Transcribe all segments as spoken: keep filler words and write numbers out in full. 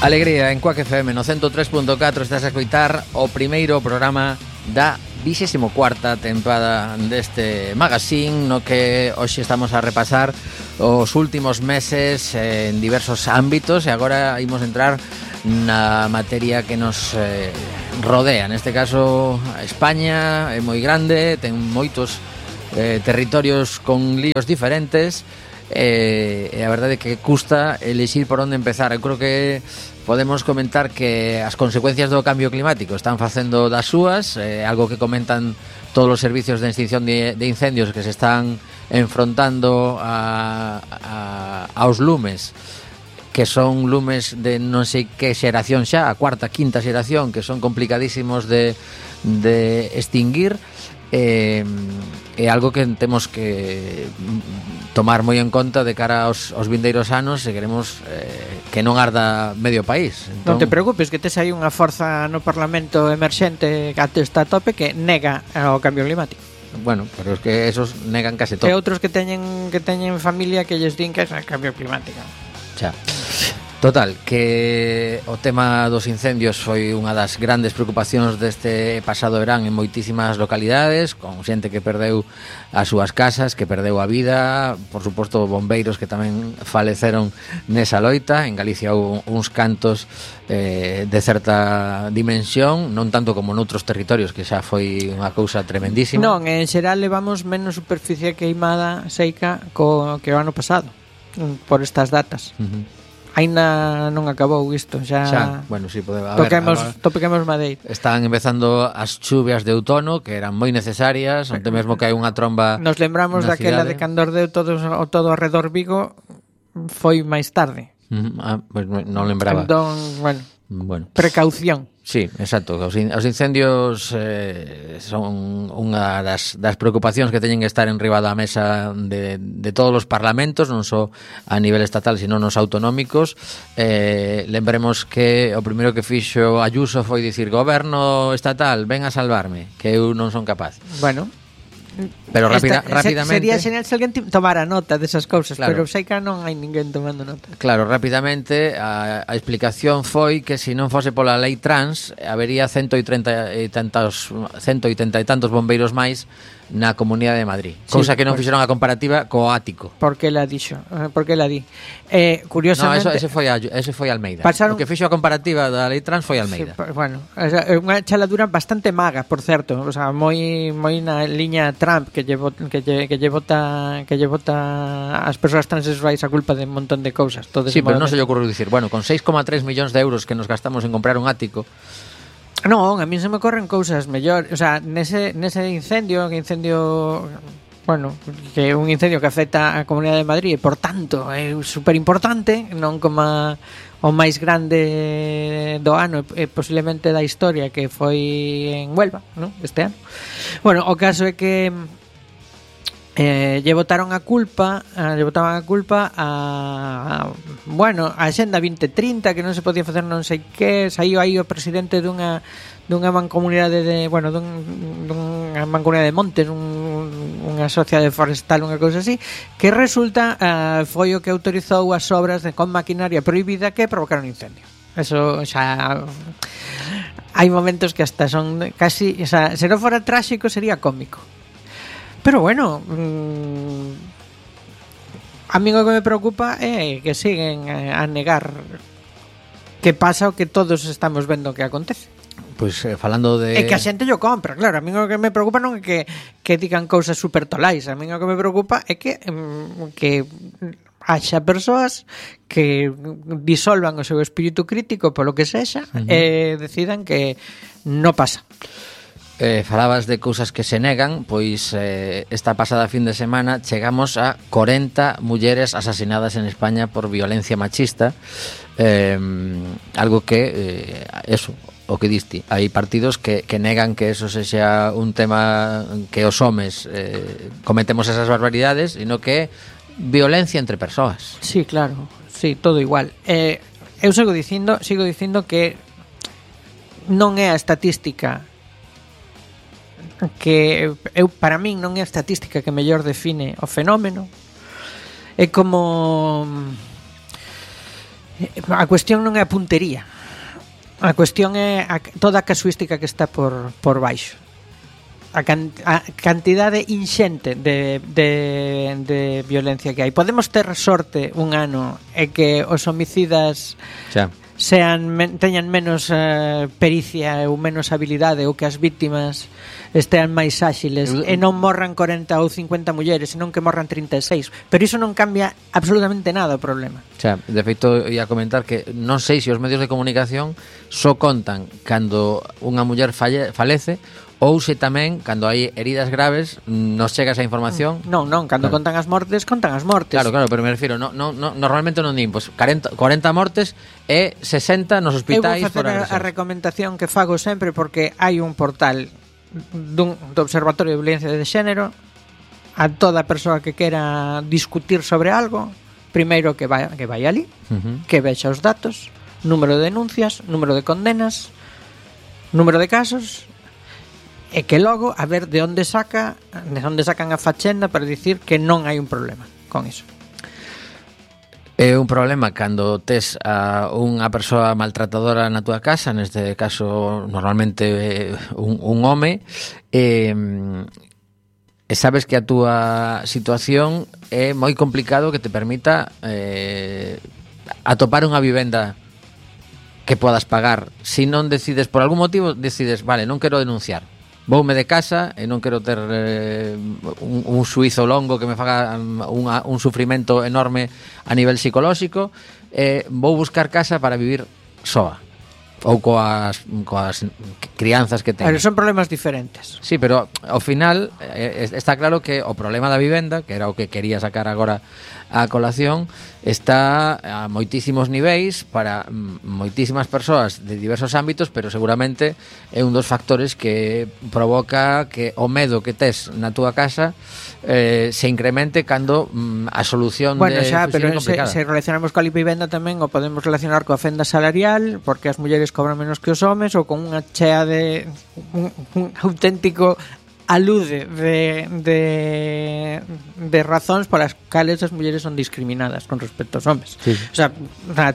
Alegría en Quack F M no ciento tres punto catro. Estás a escoitar o primeiro programa da vixésimo cuarta tempada deste magazine, no que hoxe estamos a repasar os últimos meses en diversos ámbitos, e agora imos entrar na materia que nos eh, rodea. Neste caso, España é moi grande, ten moitos eh, territorios con líos diferentes, e eh, a verdade é que custa elixir por onde empezar. Eu creo que podemos comentar que as consecuencias do cambio climático están facendo das súas, eh, algo que comentan todos os servicios de extinción de, de incendios que se están enfrontando a, a, aos lumes, que son lumes de non sei que xeración xa, a cuarta, quinta xeración, que son complicadísimos de, de extinguir. É eh, algo que temos que tomar moi en conta de cara aos, aos vindeiros anos se queremos eh, que non arda medio país. Entón... Non te preocupes, que tes aí unha forza no Parlamento emerxente que até está a tope que nega o cambio climático. Bueno, pero es que esos negan case todo. E outros que teñen que teñen familia que lles din que é o cambio climático. Xa. Total, que o tema dos incendios foi unha das grandes preocupacións deste pasado verán en moitísimas localidades, con xente que perdeu as súas casas, que perdeu a vida, por suposto bombeiros que tamén faleceron nesa loita. En Galicia houve uns cantos eh, de certa dimensión, non tanto como noutros territorios, que xa foi unha cousa tremendísima. Non, en xeral levamos menos superficie queimada seica co que o ano pasado, por estas datas. Uh-huh. Aínda non acabou isto, xa, xa bueno, sí, pode, a toquemos, ver, toquemos madeira. Están empezando as chuvias de outono, que eran moi necesarias, onde mesmo que hai unha tromba. Nos lembramos daquela cidade de cando ardeu todo, todo arredor Vigo, foi máis tarde. Uh-huh. Ah, pues non lembraba. Entón, bueno, bueno. Precaución. Sí, exacto. Os incendios eh, son unha das, das preocupacións que teñen que estar en riba da mesa de, de todos os parlamentos, non só a nivel estatal, sino nos autonómicos. Eh, lembremos que o primeiro que fixo Ayuso foi dicir: goberno estatal, ven a salvarme, que eu non son capaz. Bueno, pero rápida, Esta, rápidamente sería genial se alguén tomara nota desas cousas, claro. Pero sei que non hai ninguén tomando nota. Claro, rápidamente a, a explicación foi que se non fose pola lei trans habería ciento oitenta e tantos ciento oitenta e tantos bombeiros máis na Comunidade de Madrid, sí, cousa que non pues, fixeron a comparativa co ático. Por que la dixo? Por que la di? Eh, curiosamente, no, eso, ese foi a, ese foi Almeida. Pasaron... O que fixo a comparativa da lei trans foi Almeida. Sí, bueno, é unha chaladura bastante maga, por certo, o sea, moi moi na liña Trump que lle que lle, que lle bota que lle bota as persoas transexuais a culpa de un montón de cousas, todo. Sí, pero non se lle ocurriu dicir, bueno, con seis coma tres millóns de euros que nos gastamos en comprar un ático. Non, a mí se me corren cousas mellor, o sea, nese, nese incendio, que incendio, bueno, que é un incendio que afecta a Comunidade de Madrid e, por tanto, é super importante, non como o máis grande do ano e posiblemente da historia, que foi en Huelva, non? Este ano. Bueno, o caso é que Eh, lle botaron a culpa eh, lle botaban a culpa a, a bueno, a Axenda vinte trinta, que non se podía facer non sei que, saiu aí o presidente dunha dunha mancomunidade de, bueno, dun, dunha mancomunidade de montes, un, unha sociedade forestal, unha cousa así, que resulta uh, foi o que autorizou as obras de, con maquinaria prohibida que provocaron incendio. Eso xa hai momentos que hasta son casi, o sea, se non fora tráxico sería cómico. Pero bueno, mmm, a mí o que me preocupa é que siguen a negar que pasa o que todos estamos vendo que acontece. Pois pues, eh, falando de... É que a xente yo compra, claro. A mí o que me preocupa non é que, que digan cousas super tolais. A mí o que me preocupa é que mmm, que haxa persoas que disolvan o seu espírito crítico polo que sexa, uh-huh, e decidan que non pasa. Eh, falabas de cousas que se negan, pois eh, esta pasada fin de semana chegamos a corenta mulleres asasinadas en España por violencia machista, eh, algo que eh, eso, o que diste, hai partidos que, que negan que eso sexa un tema que os homes eh, cometemos esas barbaridades, sino que violencia entre persoas. Sí, claro, sí, todo igual. Eh, eu sigo dicindo, sigo dicindo que non é a estatística que eu, para min non é a estatística que mellor define o fenómeno. É como A cuestión non é a puntería. A cuestión é a, toda a casuística que está por, por baixo. A, can, a cantidade inxente de, de, de violencia que hai. Podemos ter sorte un ano e que os homicidas xa. sean men, teñan menos uh, pericia ou menos habilidade, ou que as víctimas estean máis áxiles uh, e non morran corenta ou cincuenta mulleres, senón que morran trinta e seis. Pero iso non cambia absolutamente nada o problema. Xa, de feito, ia comentar que non sei se os medios de comunicación só contan cando unha muller falle, falece, ou se tamén, cando hai heridas graves, nos chega esa información. Non, non, cando claro. contan as mortes, contan as mortes. Claro, claro, pero me refiro, no, no, no, normalmente non din, pues, cuarenta, cuarenta mortes e sesenta nos hospitais. Eu vou facer a, a recomendación que fago sempre, porque hai un portal dun, do Observatorio de Violencia de Xénero. A toda persoa que quera discutir sobre algo, primeiro que vai, que vai ali, uh-huh. que vexa os datos, número de denuncias, número de condenas, número de casos, e que logo a ver de onde saca de onde sacan a fachenda para dicir que non hai un problema con iso. É un problema cando tes a unha persoa maltratadora na túa casa, neste caso normalmente un, un home, e, e sabes que a túa situación é moi complicado que te permita eh, atopar unha vivenda que podas pagar. Se non decides, por algún motivo decides, vale, non quero denunciar, voume de casa e non quero ter eh, un, un suizo longo que me faga unha, un sufrimento enorme a nivel psicolóxico, eh, vou buscar casa para vivir soa ou coas, coas crianzas que teño. Pero son problemas diferentes. Sí, pero ao final eh, está claro que o problema da vivenda, que era o que quería sacar agora a colación, está a moitísimos niveis para moitísimas persoas de diversos ámbitos, pero seguramente é un dos factores que provoca que o medo que tes na túa casa eh, se incremente cando mm, a solución bueno, de xa, pero se, se relacionamos coa vivenda tamén o podemos relacionar coa fenda salarial, porque as mulleres cobran menos que os homes, ou con unha chea de un, un auténtico alude de, de, de razóns polas cales as mulleres son discriminadas con respecto aos homes. Sí. O sea,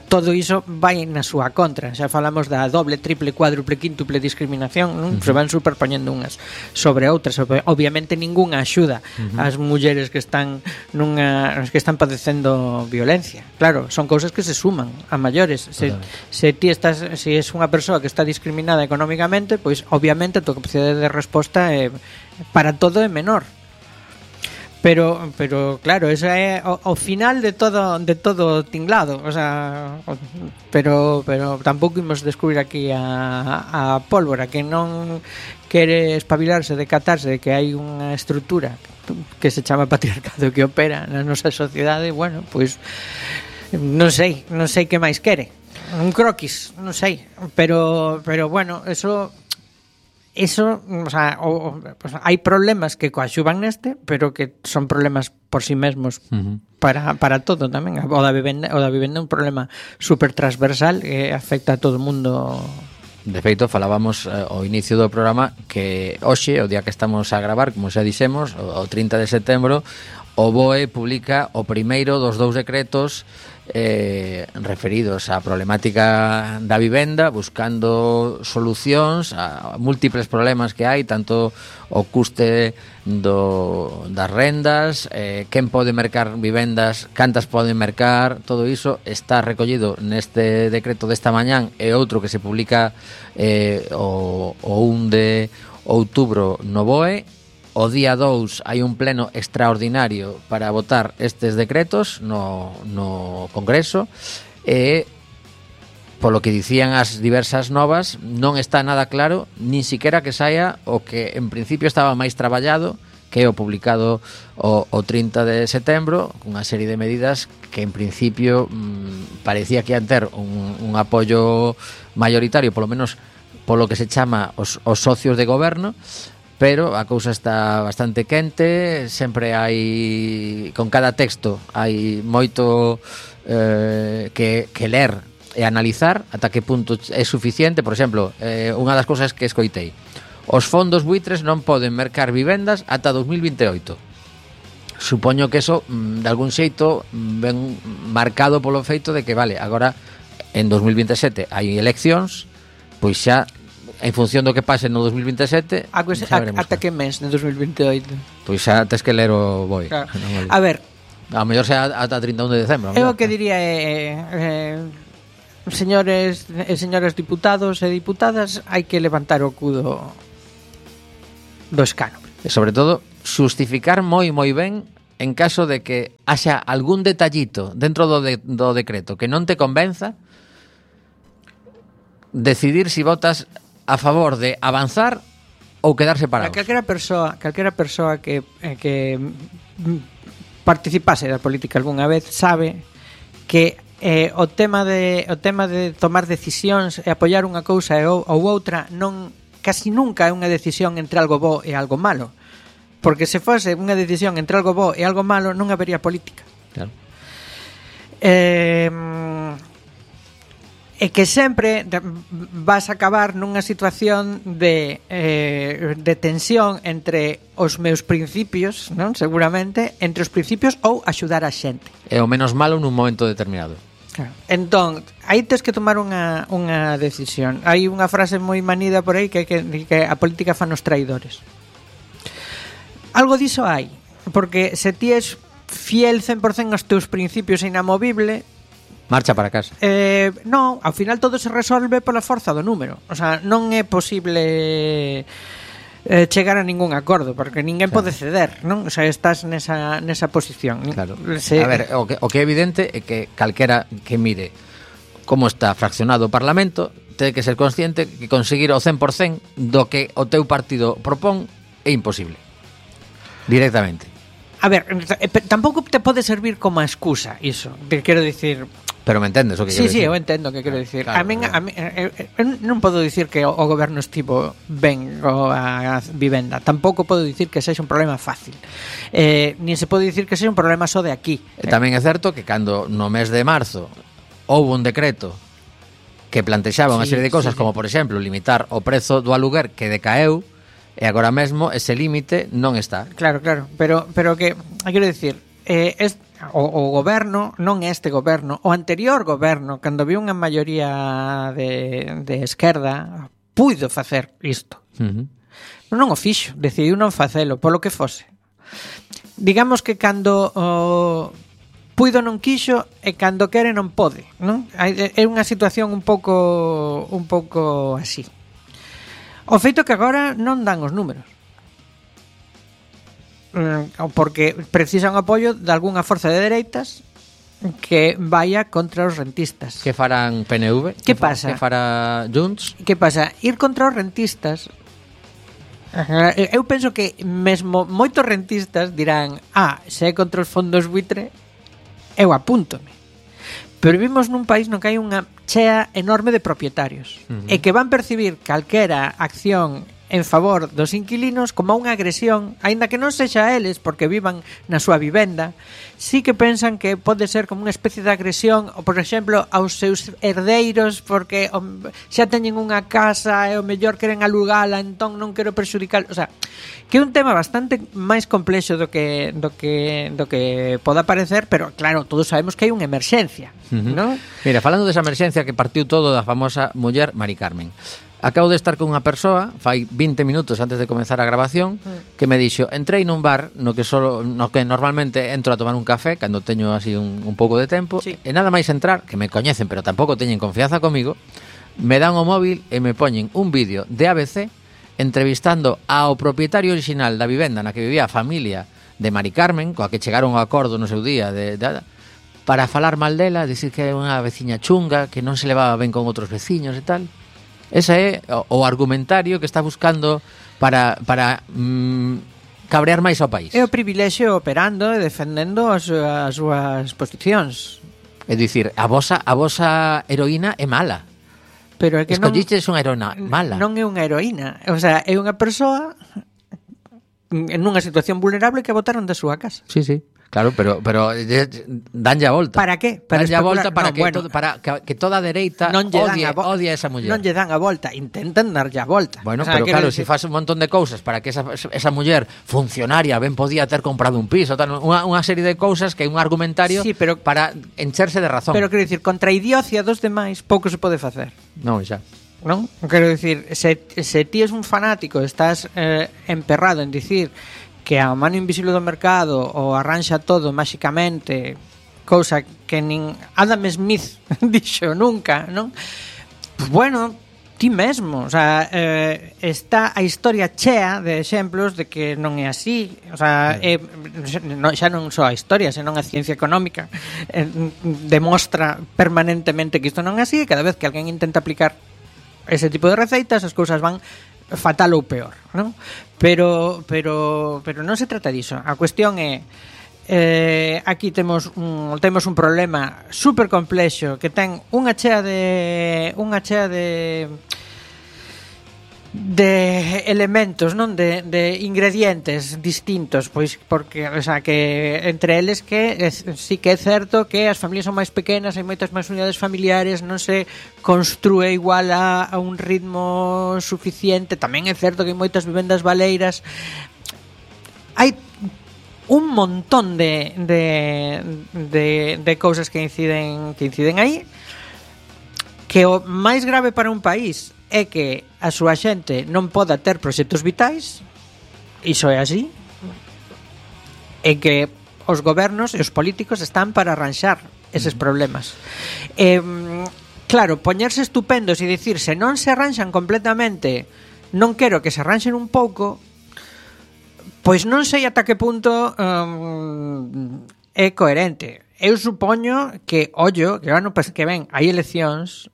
todo iso vai na súa contra. Xa falamos da doble, triple, cuádruple, quíntuple discriminación, non? Uh-huh. Se van superpoñendo unhas sobre outras. Obviamente ningunha axuda uh-huh. ás mulleres que están nunha que están padecendo violencia. Claro, son cousas que se suman a maiores. Se, se ti estás, se es unha persoa que está discriminada económicamente, pois obviamente a tua capacidade de resposta é para todo é menor. Pero pero claro, eso é o, o final de todo de todo tinglado, o sea, pero pero tampouco imos descubrir aquí a, a pólvora que non quere espabilarse, decatarse de que hai unha estrutura que se chama patriarcado que opera na nosa sociedade. Bueno, pois non sei, non sei que máis quere. Un croquis, non sei, pero pero bueno, eso Eso, o sea, o, pues, hai problemas que coaxuvan neste, pero que son problemas por si sí mesmos uh-huh. para, para todo tamén. O da vivenda, o da vivenda é un problema super transversal que afecta a todo o mundo. De feito, falábamos eh, ao inicio do programa que hoxe, o día que estamos a gravar, como xa dixemos, o, o trinta de setembro, o B O E publica o primeiro dos dous decretos eh, referidos á problemática da vivenda, buscando solucións a múltiples problemas que hai, tanto o custe do, das rendas, eh, quen pode mercar vivendas, cantas poden mercar, todo iso está recollido neste decreto desta mañán e outro que se publica eh, o, o un de outubro no B O E. O día dous hai un pleno extraordinario para votar estes decretos no, no Congreso e, polo que dicían as diversas novas, non está nada claro, nin siquiera que saia o que en principio estaba máis traballado, que é o publicado o, o trinta de setembro, cunha serie de medidas que en principio mmm, parecía que ian ter un, un apoio mayoritario, polo menos polo que se chama os, os socios de goberno, pero a cousa está bastante quente, sempre hai, con cada texto hai moito eh, que, que ler e analizar ata que punto é suficiente. Por exemplo, eh, unha das cousas que escoitei, os fondos buitres non poden mercar vivendas ata dos mil vinte e oito. supoño que eso de algún xeito ven marcado polo feito de que, vale, agora en dos mil vinte e sete hai eleccións, pois xa en función do que pase no dos mil vinte e sete a, pues, a, ata que mes de dos mil vinte e oito? Pois xa tes que ler o boi, claro. No, vale. A ver, a mellor xa ata trinta e un de decembro. Eu o que diría é eh, señores e señoras diputados e diputadas, hai que levantar o cudo do escano. E sobre todo xustificar moi moi ben en caso de que haxa algún detallito dentro do, de, do decreto que non te convenza, decidir si votas a favor de avanzar ou quedar separados. Calquera persoa, calquera persoa que, que participase da política algunha vez sabe que eh, o tema de o tema de tomar decisións e apoiar unha cousa ou, ou outra non casi nunca é unha decisión entre algo bo e algo malo. Porque se fose unha decisión entre algo bo e algo malo, non habería política. Claro. Eh, e que sempre vas a acabar nunha situación de, eh, de tensión entre os meus principios, non? Seguramente, entre os principios ou axudar a xente. É o menos malo nun momento determinado. Claro. Entón, aí tens que tomar unha, unha decisión. Hai unha frase moi manida por aí que, que, que a política fan os traidores. Algo diso hai, porque se ti és fiel cen por cen aos teus principios e inamovible, marcha para casa. Eh, non, ao final todo se resolve pola forza do número. O sea, non é posible eh, chegar a ningún acordo, porque ninguén claro. pode ceder, non? O sea, estás nesa, nesa posición. Claro. Se... A ver, o que, o que é evidente é que calquera que mire como está fraccionado o Parlamento ten que ser consciente que conseguir o cen por cen do que o teu partido propón é imposible. Directamente. A ver, tampouco te pode servir como excusa iso. Te quero dicir... Pero me entendes o que sí, quero sí, dicir? eu entendo o que quero dicir. Claro, a min, claro. a min eu, eu non podo dicir que o, o goberno estivo ben a vivenda. Tampouco podo dicir que sexa un problema fácil. Eh, nin se pode dicir que sexa un problema só de aquí. E tamén é certo que cando no mes de marzo houve un decreto que plantexaba unha sí, serie de cosas, sí, como sí. por exemplo limitar o prezo do aluguer que decaeu, e agora mesmo ese límite non está. Claro, claro, pero pero que quero dicir, eh, es, o, o goberno, non este goberno, o anterior goberno, cando viu unha maioría de, de esquerda, puido facer isto. Uh-huh. Non o fixo, decidiu non facelo, polo que fose. Digamos que cando o puido non quixo e cando quere non pode, non? É unha situación un pouco un pouco así. O feito que agora non dan os números. Porque precisan apoio de algunha forza de dereitas que vaya contra os rentistas. Que farán P N V? Que pasa? Que fará Junts? Que pasa? Ir contra os rentistas. Eu penso que mesmo moitos rentistas dirán: "Ah, se é contra os fondos buitre, eu apúntome". Pero vivimos nun país no que hai unha chea enorme de propietarios uh-huh. e que van percibir calquera acción en favor dos inquilinos como unha agresión, aínda que non sexa a eles porque vivan na súa vivenda, sí que pensan que pode ser como unha especie de agresión, ou por exemplo aos seus herdeiros porque o, xa teñen unha casa e o mellor queren alugala, entón non quero perxudicar, o sea, que é un tema bastante máis complexo do que do que do que poda parecer, pero claro, todos sabemos que hai unha emerxencia, uh-huh. ¿no? Mira, falando desa emerxencia que partiu todo da famosa muller Mari Carmen. Acabo de estar con unha persoa fai vinte minutos antes de comenzar a grabación que me dixo, entrei nun bar no que solo, no que normalmente entro a tomar un café cando teño así un, un pouco de tempo sí. E nada máis entrar, que me coñecen pero tampouco teñen confianza comigo, me dan o móvil e me poñen un vídeo de A B C entrevistando ao propietario original da vivenda na que vivía a familia de Mari Carmen, coa que chegaron ao acordo no seu día de, de, para falar mal dela, dicir que é unha veciña chunga, que non se levaba ben con outros veciños e tal. Ese é o, o argumentario que está buscando para, para mm, cabrear máis ao país. É o privilexio operando e defendendo as, as súas posicións. É dicir, a vosa, a vosa heroína é mala. Pero é que escolliches unha heroína mala. Non é unha heroína, o sea, é unha persoa en unha situación vulnerable que botaron da súa casa. Sí, sí. Claro, pero pero eh, danlle a volta. Para que? Para danlle a especular? volta para No, que bueno, todo, para que, que toda a dereita non lle dan odie, a vo- odie a esa muller. Non lle dan a volta, intentan darlle a volta. Bueno, O sea, pero quero claro, decir- se si faz un montón de cousas para que esa, esa muller funcionaria ben podía ter comprado un piso, tal, unha, unha serie de cousas que é un argumentario Sí, pero- para encherse de razón. Pero quero dicir, contra a idiocia dos demais pouco se pode facer. Non, xa. Non? Quero dicir, se, se ti es un fanático, estás eh, emperrado en dicir que a mano invisible do mercado o arranxa todo máxicamente, cousa que nin Adam Smith dixo nunca, non? Pues bueno, ti mesmo, o sea, eh, está a historia chea de exemplos de que non é así, o sea, é, no, xa non só a historia, senón a ciencia económica eh, demostra permanentemente que isto non é así, e cada vez que alguén intenta aplicar ese tipo de receitas, as cousas van fatal ou peor, non? Pero pero pero non se trata diso. A cuestión é eh, aquí temos un temos un problema super complexo que ten unha chea de unha chea de de elementos, non, de, de ingredientes distintos, pois porque, o sea, que entre eles que es, sí que é certo que as familias son máis pequenas, hai moitas máis unidades familiares, non se construe igual a, a un ritmo suficiente. Tamén é certo que hai moitas vivendas baleiras. Hai un montón de de de de cousas que inciden que inciden aí, que o máis grave para un país é que a súa xente non poda ter proxectos vitais. Iso é así. E que os gobernos e os políticos están para arranxar eses problemas. Eh, claro, poñerse estupendos e dicir se non se arranxan completamente, non quero que se arranxen un pouco, pois non sei ata que punto um, é coherente. Eu supoño que, ollo, que ano que ven hai eleccións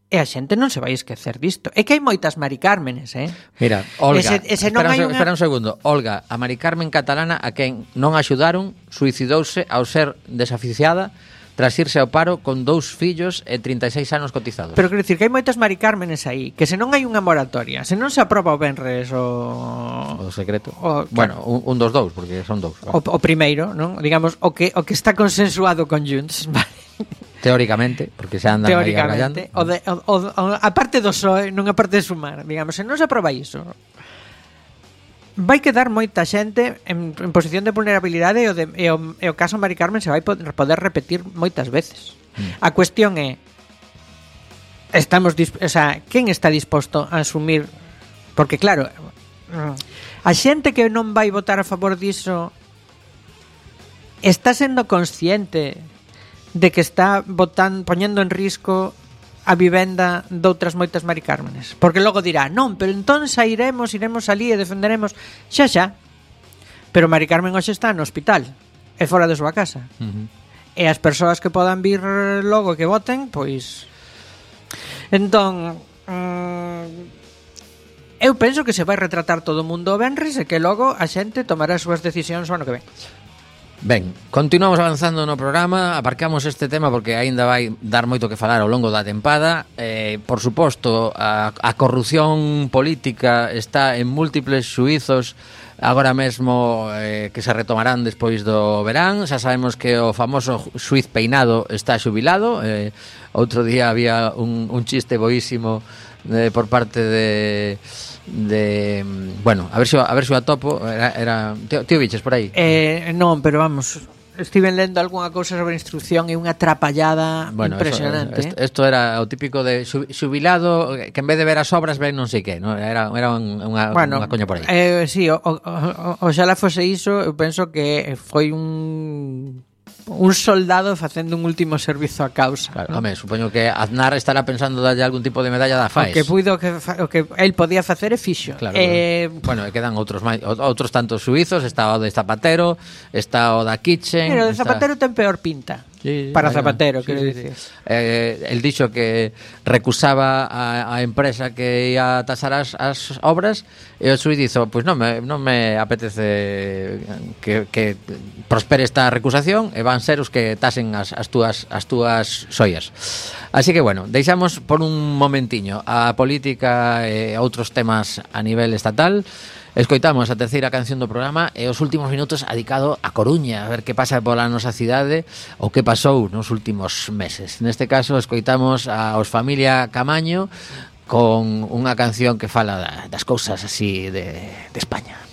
e a xente non se vai esquecer disto. É que hai moitas Mari Cármenes, eh? Mira, Olga, Ese- ese non espera, hai un, unha- espera un segundo. Olga, a Mari Carmen catalana a quen non axudaron, suicidouse ao ser desaficiada tras irse ao paro con dous fillos e trinta e seis anos cotizados. Pero quero dicir que hai moitas Mari Cármenes aí, que se non hai unha moratoria, se non se aproba o Benres o O secreto. O- Bueno, un, un dos dous, porque son dous. o, o primeiro, non? Digamos, o que o que está consensuado con Junts, vale? Teóricamente, porque se andan aí argallando. Teóricamente, o de, o, o, o, a parte do P S O E, non a parte de sumar, digamos, se non se aproba iso, vai quedar moita xente en, en posición de vulnerabilidade e o, de, e o, e o caso Mari Carmen se vai poder, poder repetir moitas veces. Mm. A cuestión é estamos, disp- o sea, quen está disposto a asumir, porque claro, a xente que non vai votar a favor diso está sendo consciente de que está votan, poñendo en risco a vivenda doutras moitas Mari Cármenes, porque logo dirá, non, pero entón sairemos, iremos ali e defenderemos, xa xa, pero Mari Carmen hoxe está no hospital e fora da súa casa, Uh-huh. e as persoas que podan vir logo que voten, pois entón mm, eu penso que se vai retratar todo o mundo o venres e que logo a xente tomará as súas decisións o ano que ven. Ben, continuamos avanzando no programa. Aparcamos este tema porque aínda vai dar moito que falar ao longo da tempada. eh, Por suposto, a, a corrupción política está en múltiples xuizos agora mesmo, eh, que se retomarán despois do verán. Xa sabemos que o famoso xuiz Peinado está xubilado. eh, Outro día había un, un chiste boísimo eh, por parte de... de bueno, a ver se a ver se o atopo, era, era tío, tío Viches por aí. Eh, non, pero vamos, estiven lendo algunha cousa sobre instrucción e unha atrapallada Bueno, impresionante. Eso, esto, esto era o típico de xubilado que en vez de ver as obras ven non sei que, ¿no? Era, era unha, bueno, unha coña por aí. Eh, sí, o, o, o, oxalá fose iso, eu penso que foi un un soldado facendo un último servizo á causa. Claro, ¿no? home, supoño que Aznar estará pensando darlle algún tipo de medalla da O F A E S. que puido que fa, o que el podía facer é fixo. Claro, eh, bueno, e quedan outros máis, outros tantos suizos, está o de Zapatero, está o da Kitchen. Pero o de está... Zapatero ten peor pinta. Sí, para vaya, Zapatero, sí, quero sí, dicir. sí. Eh, el dixo que recusaba a, a empresa que ia tasar as, as obras e o xuiz dixo, pois pues non me, non me apetece que, que prospere esta recusación e van ser os que tasen as, as túas as túas xoias. Así que bueno, deixamos por un momentiño a política e outros temas a nivel estatal Escoitamos a terceira canción do programa e os últimos minutos adicado a Coruña, a ver que pasa pola nosa cidade ou que pasou nos últimos meses. Neste caso, escoitamos aos Familia Camaño con unha canción que fala das cousas así de, de España.